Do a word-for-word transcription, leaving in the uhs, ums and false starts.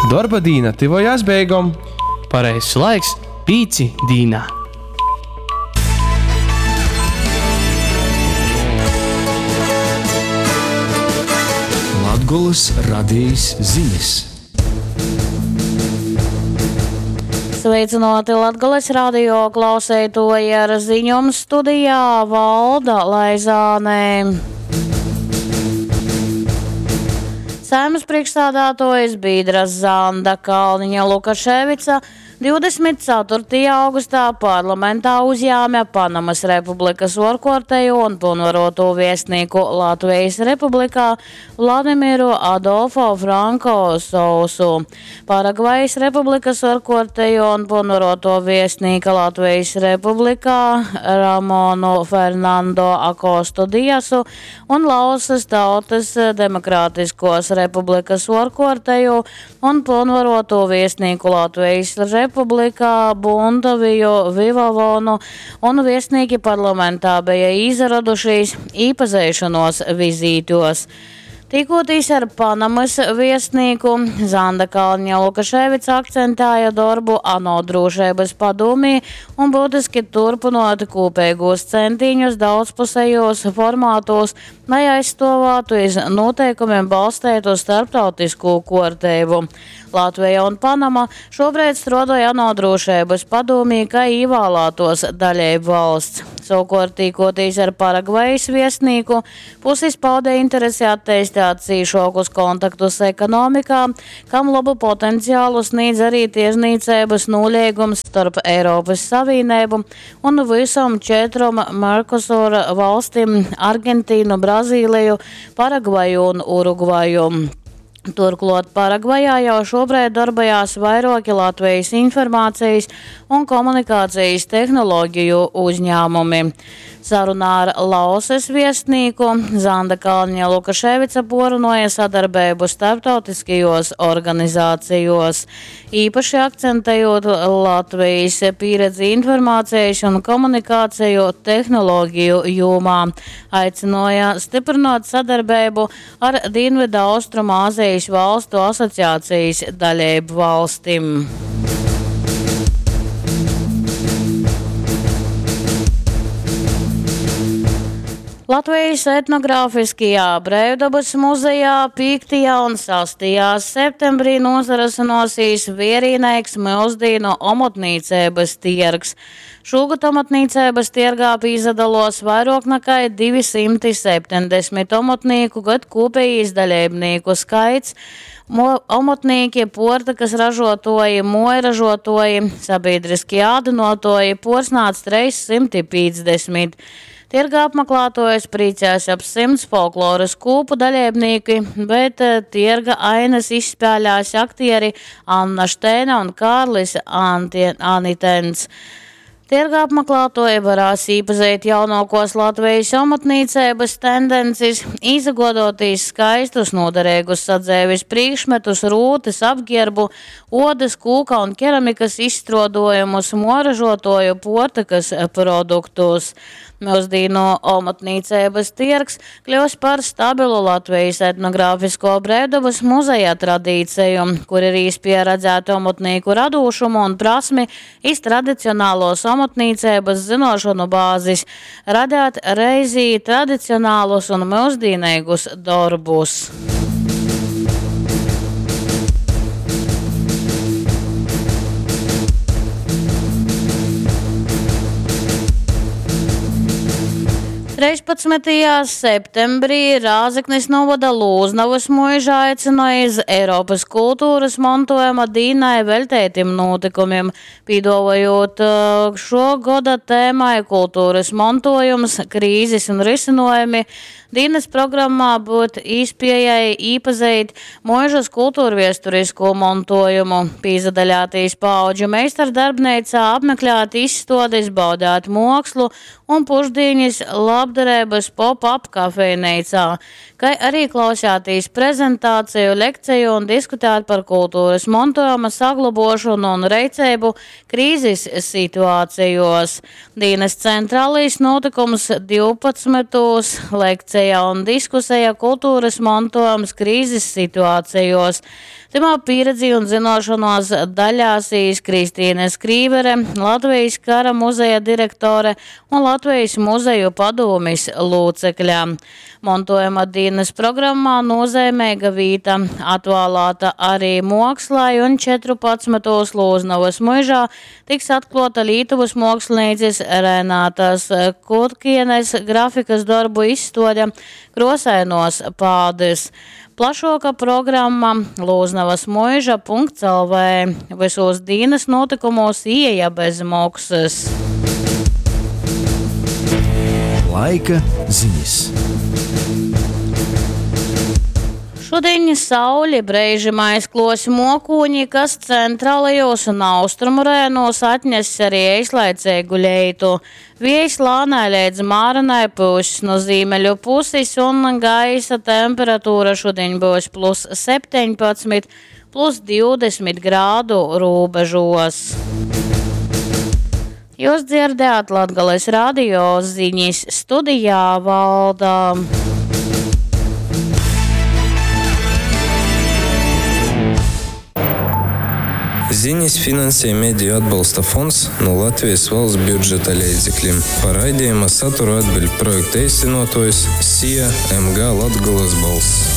Dorba dīna tyvojās beigom. Pareizs laiks pīci dīnā. Latgolys radejis zinis. Sveicināti Latgales radio klauseitoji ar ziņom studijā Valda Laizānē. Saeimas priekšsādātuojs Bīdras Zanda Kalniņa Lukaševica divdesmit ceturtajā augustā parlamentā uzjāma Panamas Republikas orkortējo un pilnvaroto viestnieku Latvijas Republikā Vladimiru Adolfo Franko Sousu. Paragvajas Republikas orkortējo un pilnvaroto viestnieka Latvijas Republikā Ramonu Fernando Akostu Diasu un Laosas Tautas Demokrātiskos Republikas orkortējo un pilnvaroto viestnieku Latvijas Republikā Republikā Bundaviju Vivavonu un viesnīki parlamentā bija izradušies īpazeišanos vizītos. Tikoties ar Panamas viesnieku, Zanda Kalniņa Lukaševica akcentēja darbu ANO drošības padomī un būtiski turpinot kopīgos centiņus daudzpusējos formātos, lai aizstāvētu iz noteikumiem balstītu starptautisko kārtību. Latvija un Panama šobrīd strādāja ANO drošības padomī, kā ievēlētos dalību valsts. Savukārt, tikoties ar Paragvajas viesnieku, puses pauda interesi attīstīt cīšokus kontaktus ekonomikā, kam labu potenciālu sniedz arī tirzniecības nolīgums starp Eiropas Savienību un visam četrom Mercosur valstīm – Argentīnu, Brazīliju, Paragvaju un Urugvaju. Turklāt Paragvajā jau šobrīd darbojās vairāki Latvijas informācijas un komunikācijas tehnoloģiju uzņēmumi. Sarunā ar Laosas viestnieku Zanda Kalniņa Lukaševica porunoja sadarbību starptautiskajos organizācijos, īpaši akcentējot Latvijas pieredzi informācijas un komunikāciju tehnoloģiju jomā. Aicināja stiprināt sadarbību ar Dienvidu Austrumāzijas valstu asociācijas dalību valstīm. Latvijas etnogrāfiskajā Brīvdabas muzejā piektajā un sastajā septembrī nozarasinosīs vierīnēks mūsdienu omotnīcības tirgs. Šogad omotnīcības tirgā pīzadalos vairāk nekā divi simti septiņdesmit omotnīku, bet kopējais dalībnieku skaits Mo-, omotnīki, portakas ražotoji, mojražotoji, sabiedriskie ādinotoji porsnāc trīs simti piecdesmit. Tirga apmeklētojas priecās ap simts folkloras kūpu dalībnieki, bet, eh, tirga ainas izspēlējās aktieri Anna Štēna un Kārlis Antie-, Anitens. Tirga apmeklētoji varēs iepazīt jaunākos Latvijas amatniecības tendences, izagodoties skaistus noderīgus sadzēvis priekšmetus, rūtes, apģērbu, odas, kūka un keramikas izstrādājumus, moražotoju portakas produktus. Mūsdienu amatniecības tirgs kļūs par stabilu Latvijas etnogrāfisko Brīvdabas muzeja tradīciju, kur ir īspēja redzēt amatnieku radošumu un prasmi iz tradicionālos amatniecības zinošanu bāzes, radēt reizī tradicionālus un mūsdienīgus darbus. Trīspadsmitajā septembrī Rāzeknis novada Lūznavas muižā aicināja iz Eiropas kultūras mantojuma dīnai veltētim notikumiem, pīdovojot, eh, šo gada tēmai kultūras mantojums, krīzes un risinojumi. Dīnas programmā būt īspējai īpazīt muižas kultūrviesturisko mantojumu, pīzadaļātīs paudžu meistardarbneicā, apmeklēt izstādes, baudēt mākslu un pušdienas lab labdareibys pop-up kafejneicā, kai arī klausēties prezentāciju, lekciju un diskutēt par kultūras montuojuma saglobuošonu un reiceibu krīzis situācijos. Dīnys centrālais notikums divpadsmitūs lekcija un diskuseja kultūras montuojums krīzis situācijos. Timā pieredzi un zinošanos daļāsīs Kristīne Skrīvere, Latvijas kara muzeja direktore un Latvijas muzeju padomis locekļa. Montojuma dienas programmā nozīmīga vīta atvēlēta arī mokslai un četrpadsmitos Lūznavas muižā tiks atklāta Lietuvas mākslinieces Renātas Kutkienes grafikas darbu izstāde Krosainos pādes. Plašāka programma Lūznavas muiža punkts L V. Visos dienas notikumos ieeja bez maksas. Laika ziņas. Šodien sauli breižim aizklos mokūņi, kas centrālajos un austrumu rajonos atnes arī eislaicīgu leitu. Viejs lānai līdz mārenai pušs no zīmeļu puses un gaisa temperatūra šodien būs plus septiņpadsmit, plus divdesmit grādu robežos. Jūs dzirdējāt Latgales radio ziņas studijā Valda. Ziņas finansē Mediju atbalsta fonds no Latvijas valsts budžeta līdzekļiem. Par raidījuma saturu atbild projekta īstenotājs SIA M G Latgolas balss.